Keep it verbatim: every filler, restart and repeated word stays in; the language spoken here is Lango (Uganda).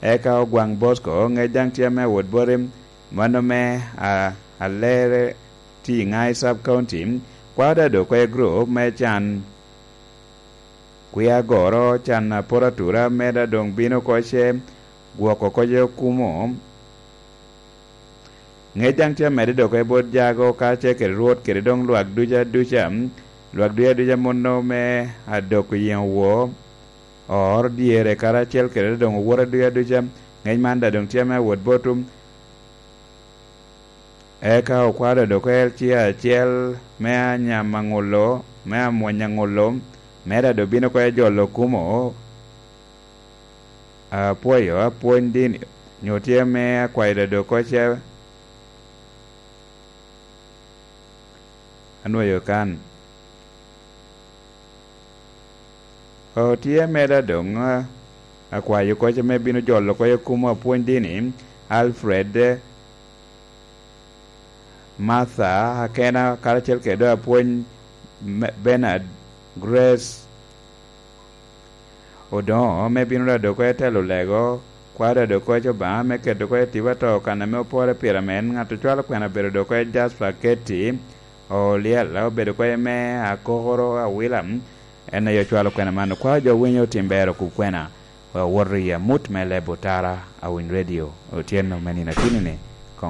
Eka Ogwaŋ Bosco, ŋec daŋ tye ame awot boti, mano me a, Alere Ting'ai Sub County, kwao dado oko i group me can kwi agoro, can aporo atura, meda doŋ bino oko ce gwoko oko ce okumo. Ŋec daŋ tye amedde dok i bot jago karacel kede Rwot kede doŋ lwak duca duca, lwak duca duca muno me adok oyeŋo wo, oro dyere karacel kede doŋ owote duca duca. Ŋec man daŋ doŋ tye ame awot botwu. Eka okwao dok oko el ci acel me anyam aŋulo, me amwony aŋulo, me daŋ doŋ bino oko ejolo okumo. Apwoyo apwony dini, nyo tye me akwayo dado oko ce anwoyo kan. O, tye meda doŋ, a, akwayo oko ce me bino jolo oko i okumo apwony dini, Alfred, Martha, Akena, karacel kede doŋ apwony me-, Bernard, Grace, Odoŋo, me bino dado oko i telo lego, kwao dado oko i Obaŋa, me keto oko i tipo ato kan ame opore pire amen, ŋat ocwalo kwena bedo dado oko i Jasper Ketty, Oliel, obedo oko i me Akokoro Awila, en aye ocwalo kwena man. Okwao jo winyo otim ber okub kwena, wek owoto i amut me leb otara, Awiny Radio, otyeno me nino atini-ni.